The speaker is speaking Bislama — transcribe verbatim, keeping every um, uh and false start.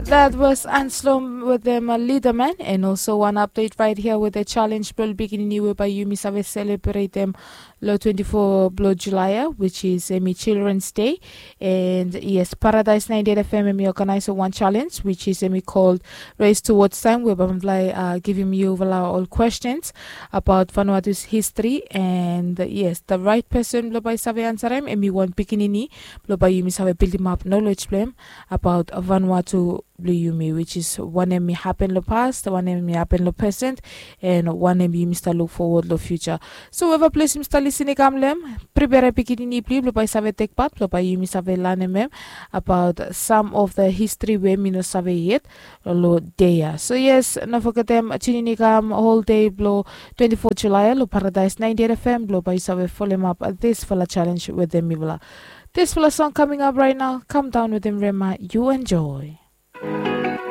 That was Anslom with them uh, Leaderman, and also one update right here with the challenge blo pikinini we by yumi save celebrate them lo twenty-four blo July, which is emi Children's Day. And yes, Paradise ninety-eight F M emi organize one challenge which is emi called Race Towards Time, we bamblai uh, give him you all questions about Vanuatu's history. And uh, yes, the right person blo by save answer him emi one pikinini blo by yumi save build him up knowledge blo him about Vanuatu blo yumi, which is wanem i happen lo past, wanem i happen lo present, and wanem yumi start look forward lo future. So whoever ples yumi start listening kam lem, prepare pikinini bli blo by save take part blo by yumi save lanem em about some of the history we mi no save yet lo day ya. So yes, no forget em tuning i kam whole day blo twenty-four July lo Paradise ninety-eight F M blo by save follow up this fala challenge with them mivla. This fala song coming up right now. Come down with them, Rema. You enjoy.